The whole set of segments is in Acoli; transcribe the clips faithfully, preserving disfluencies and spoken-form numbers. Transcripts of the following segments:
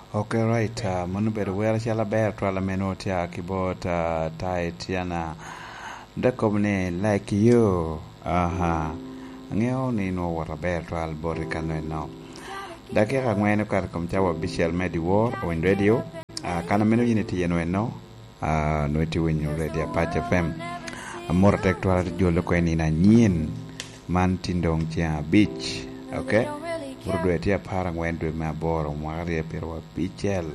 Okay, right. Uh, mano bedo wer achiel aber twala meno tia kibot uh, tai tiana. Dakobne like you. Aha. Ang'eyo ni no wat aber twal boti kano no. Dakika ang'wen okato kom cawa abicel me dyewor Owiny Radio. Uh, kana meno in itye no eno. Uh, no itye winyo Radio Apac F M. Amor tek twala ti jolo ko nino anyien man tindong chieng' abich. Okay? Buru dwe tye apar ang'wen dwe me aboro mwaka aryo piero abicel.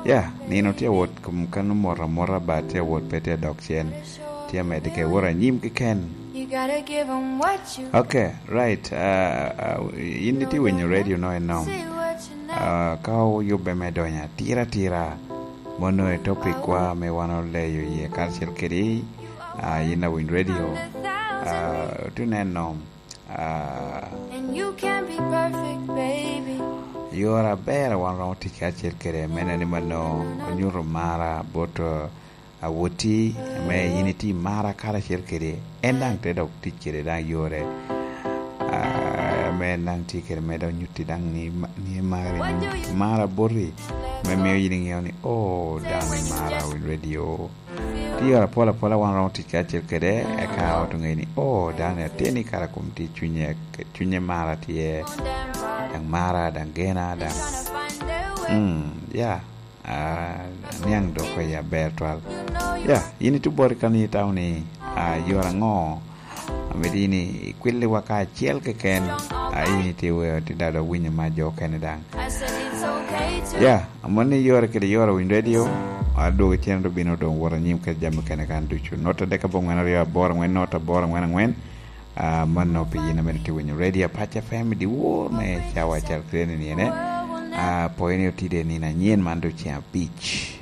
Ya, nino tye wot kum kano mot amota ba tye wot pe tye dok cien. Tye medde ke wot anyim keken. Okay, right. Uh, uh, in itye winyo radio no eno. Uh, ka oyubbe me donyo atira atira mono e topic wa me wan oleyo iye kacel kedi uh, in awiny radio uh, tuneno uh, yore aber wan romo tic kacel kede mene ni mano onyuto mara bot uh, awoti me in iti mara kacel kede en dang te dok tic kede dang yore uh, me dang tye kede me dong nyuti dang ni, ni mari mara boti me miyo in ing'eyo ni oh dang ni mara winy radio ti yore apola apola wan romo tic kacel kede eka oto ng'eyo ni oh dang ni atye ni kara kom tye cwinye cwinye mara tye dang mara dang gena dang mm, yeah uh, niang doko ya ber twal ya in itu bori kan itaw ni uh, yore ang'o amedi ni ikwiliwa kaachiel keken uh, in iti weyo ti dado winyo ma jo kene dang ya amoni yore kede yore winy radio aduogo chien to bino dong wuot anyim kede jami kene kan ducu not adek abong'wen ariyo aboro ang'wen not aboro ang'wen ang'wen uh, mano pi yin amedo ti winyo radio Apac F M diwor me cawa achiel kede ni ene uh, poini otide nino anyien man do chieng' abich.